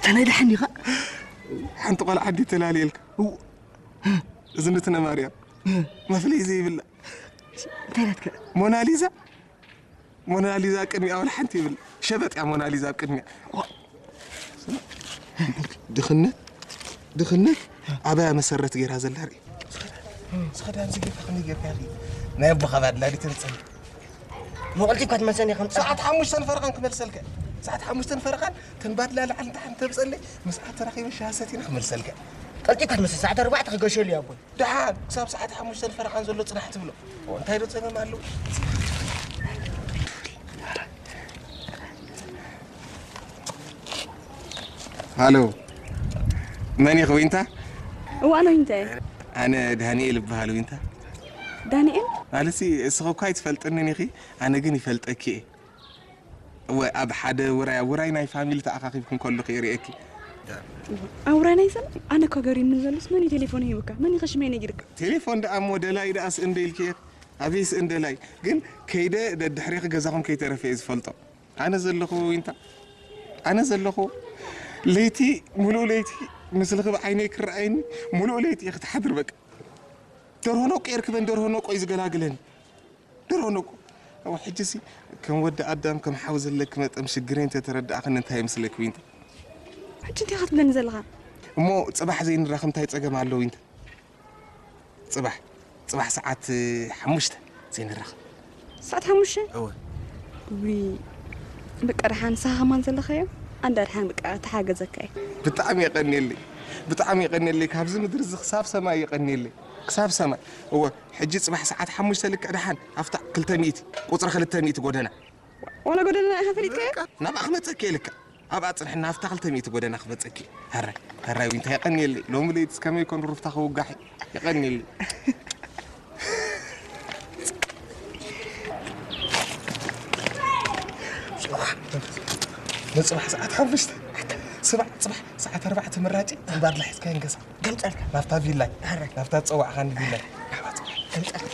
እንታይ ደሓን ኢኻ? ሓንቲ ቆልዓ እንዲ ተላልየልካ። እዝንትነ ማርያም መፍለይ ዘይብላ እንታይ ናትከ? ሞናሊዛ፣ ሞናሊዛ ኣብ ቅድሚያ ወላ ሓንቲ ይብል። ሸበጥ እያ ሞናሊዛ ኣብ ቅድሚያ። ድኽነት፣ ድኽነት ኣባያ መሰረት ገይራ ዘላ ርኢ። ስኸዳን ዝጌታ ከመይ ጌርካ ርኢ? ናይ ኣቦኻ ባድላ ዲ ተምፀኒ? መቐልቲ እኳ ትመልሰኒ ከም ፀ- ሰዓት ሓሙሽተን ፈረቓን ክመልሰልካ። ሰዓት ሓሙሽተን ፈረቓን ተን ባድላ ላዕሊ ንታሕቲ ተምፀለይ፣ ምስኣ ተራኺበ ሻሂ ሰቲና ክመልሰልካ። ቀልጢፍካ ትመልሰ፣ ሰዓት ኣርባዕተ ክገሸሉ እዩ ኣቦይ። ደሓን ክሳብ ሰዓት ሓሙሽተን ፈረቓን ዘሎ ጽናሕ ትብሎ። እንታይ ዶ ጸገም ኣለዎ? ሃሎ፣ መን ኢኺ ዊንታ? እዋ፣ ኣነ ዊንታ እየ። ኣነ ዳንኤል እበሃል ዊንታ። ዳንኤል? ማለትሲ እስኺ እኳ ኣይትፈልጥንን ኢኺ፣ ኣነ ግን ይፈልጠኪ እየ። እወ፣ ኣብ ሓደ ውራይ፣ ኣብ ውራይ ናይ ፋሚሊ ተኣኻኺብክን ከለኹ እየ ርእየኪ። ኣብ ውራይ ናይ ሰብ? ኣነ እኮ ገሪምኒ ዘሎስ መን እዩ ቴሌፎን ሂቡካ? መን እዩ ሽመይ ነጊርካ? ቴሌፎን ደኣ እሞ ደላይ ደኣ ስእን ዶ ኢልኪ እየ? ኣበይ ስእን ደላይ? ግን ከይደ ደድሕሬኺ ገዛኹም ከይተረፈ እየ ዝፈልጦ። ኣነ ዘለኹ ዊንታ፣ ኣነ ዘለኹ ለይቲ፣ ሙሉእ ለይቲ ምስልኺ ብዓይነይ ክረኣየኒ፣ ሙሉእ ለይቲ እየ ክትሓድር በቃ። ደርሆ ነቆ እየ ርክበን፣ ደርሆ ነቆ እዩ ዝገላግለኒ። ድሮ ንቁ። እወ፣ ሕጂሲ ከም ወዲ ኣዳም፣ ከም ሓው ዘለኪ መጠን ሽግረይ እንተተረዳእኽኒ እንታይ ይመስለኪ ዊንታ? ሕጂ እንታይ ኢኻ ትብለኒ ዘለኻ? እሞ ጽባሕ ዘይንራኸብ እንታይ ጸገም ኣሎ ዊንታ? ጽባሕ፣ ጽባሕ ሰዓት፣ እ፣ ሓሙሽተ ዘይንራኸብ። ሰዓት ሓሙሽተ? እወ። ውይ፣ በቃ ደሓን ንስኻ ከማን ዘለኻዮ? ኣንዳ ደሓን በቃ ተሓገዘካ እየ። ብጣዕሚ የቐንየለይ፣ ብጣዕሚ የቐንየለይ። ካብዚ ምድሪ እዚ ክሳብ ሰማይ የቐንየለይ፣ ክሳብ ሰማይ። እወ፣ ሕጂ ጽባሕ ሰዓት ሓሙሽተ ልክዕ ደሓን ኣብታ ክልተ ሚእቲ፣ ቁጽሪ ክልተ ሚእቲ ጎደና። ዋላ ጎደና ኢኻ ፈሊጥካዮ? በቃ፣ ናብኣ ክመጸኪ እየ ልክዕ። ኣብኣ ጽንሕና ኣብታ ክልተ ሚእቲ ጎደና ክመጸኪ እየ። ሕራይ፣ ሕራይ ዊንታ የቐንየለይ። ሎሚ ለይትስ ከመይ ኮን ሩፍታ ክውጋሕ እየ። የቐንየለይ። ንጽባሕ ሰዓት ሓሙሽተ። ስማዕ፣ ጽባሕ ሰዓት ኣርባዕተ ምራጭ እምባር ሒዝካ ይንገሳ። ገምጸልካ። ናብታ ቪላይ። ሕራይ። ናብታ ዝጸዋዕኻኒ ቪላይ። ናብኣ ጽባሕ። ገምጸልካ።